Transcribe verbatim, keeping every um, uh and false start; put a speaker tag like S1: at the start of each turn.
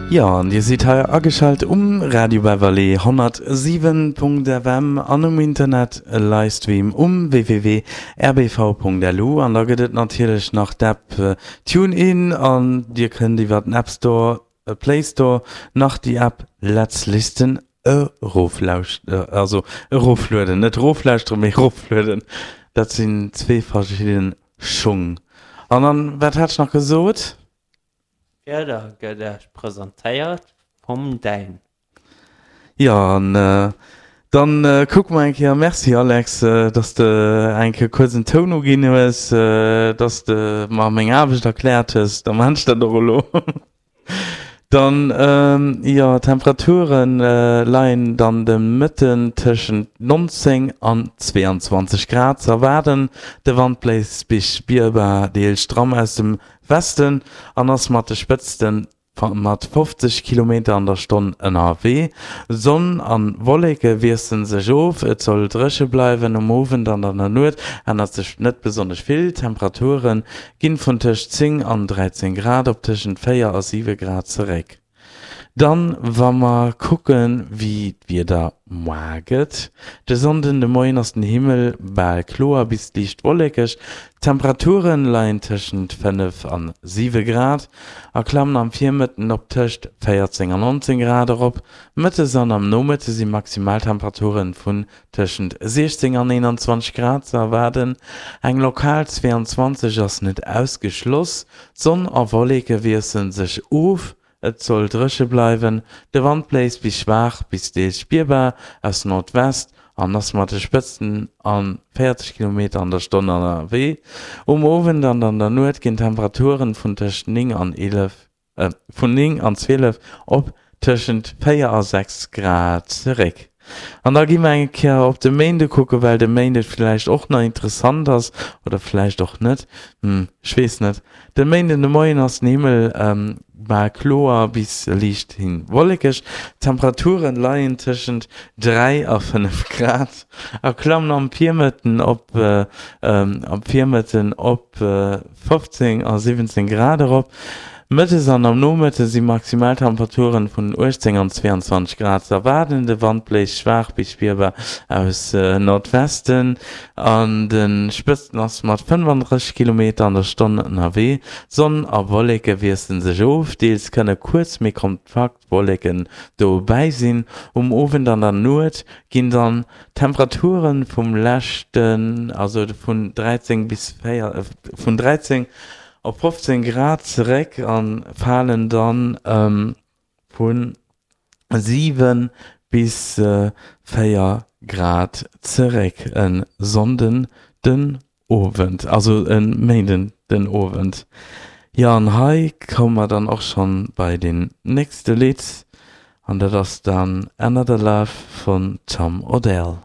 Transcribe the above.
S1: Jo, an Dir sidd hei ageschalt um Radio Beverly honnertsiwen Punkt F M an um Internet Livestream um W W W Punkt R B V Punkt L U an da gëtt et natierlech nach d'App TuneIn an Dir kënnt iwwer den App Store, Play Store nach déi App Let's Listen eroflauschteren, also eroflueden, net eroflauschteren, mee eroflueden. Dat sinn zwee verschidden Schung. An dann, wat hat ech nach gesot?
S2: D'Wieder gëtt Iech presentéiert vum Däin.
S1: Jo, an dann kucke mer eng Kéier. Merci Alex, dass de eng Kéier kuerz en Toun uginn hues, dass de mer meng Aarbecht erkläert hues. Da maan ech dat och elo. Dann, jo, d'Temperature leien dann de Mëtten tëschent neunzéng an zwéianzwanzeg Grad ze erwaarden. De Wand bléist bis spierbar deels stramm aus dem Westen an ass mat de Spëtzte mat fofzeg Kilometer an der Stonn ënnerwee. Sonn a Wolleke wiessele sech of, et soll dréche bleiwen. Um Owend an an der Nuet ännert sech net besonnesch vill, d'Temperature gi vun tëscht zéng an dräizéng Grad op tëschent véier a siwe Grad zeréck. Dann, wa mer kucken, wéi d'Wieder moar gëtt, De Sonnden de Moien ass den Himmel bal kloer bis liicht wollekeg, d'Temperature leien tëschent fënnef an siwe Grad a klammen am Virmëtten op tëscht véierzéng an nonzéng Grad erop. Mëttes an am Nomëtte si Maximaltemperature vun tëschent siechzéng an eenanzwanzeg Grad ze erwaarden, eng lokal zwéianzwanzeg ass net ausgeschloss. Sonn a Wolleke wiessele sech of, et soll dréche bleiwen, de Wand bléist bis schwaach bis deels spierbar aus Nordwest an ass mat de Spëtzten a véierzeg Kilometer an der Stonn ënnerwee. Um Owend an an der Nuet ginn d'Temperature vun tëscht néng an eelef vun néng an zwielef op tëschent véier a sechs Grad zeréck. An da gi mer eng Kéier op de Méinde kucken, well de Méinde vläicht och nach interessant ass, oder vläicht och net, hm, ech weess net. De Méinden de Moien ass den Himmel bal kloer bis liicht hin wollekeg, d'Temperature leien tëschent dräi a fënnef Grad a klammen am Virmëtten op am Virmëtten op fofzéng a siwwenzéng Grad erop. Mëttes an am Nomëtte si Maximaltemperaturen vun uechtzéng an zwéianzwanzeg Grad ze erwaarden. De Wand bléist schwaach bis spierbar aus Nordwesten, an de Spëtzten ass mat fënnefandrësseg Kilometer an der Stonn ënnerwee. Sonn a Wolleke wiessele sech of, deels kënne kuerz méi kompakt Wolleken dobäi sinn. Um Owend an der Nuet ginn dann d'Temperature vum leschten, also vun dräizéng bis véier, vun dräizéng op fofzéng Grad zeréck a falen dann vu siwe bis véier Grad zeréck e Sonnden den Owend, also e Méinden den Owend. Jo, an hei komme mer dann och schonn bei den nächste Lidd an dat ass dann Another Love vun Tom Odell.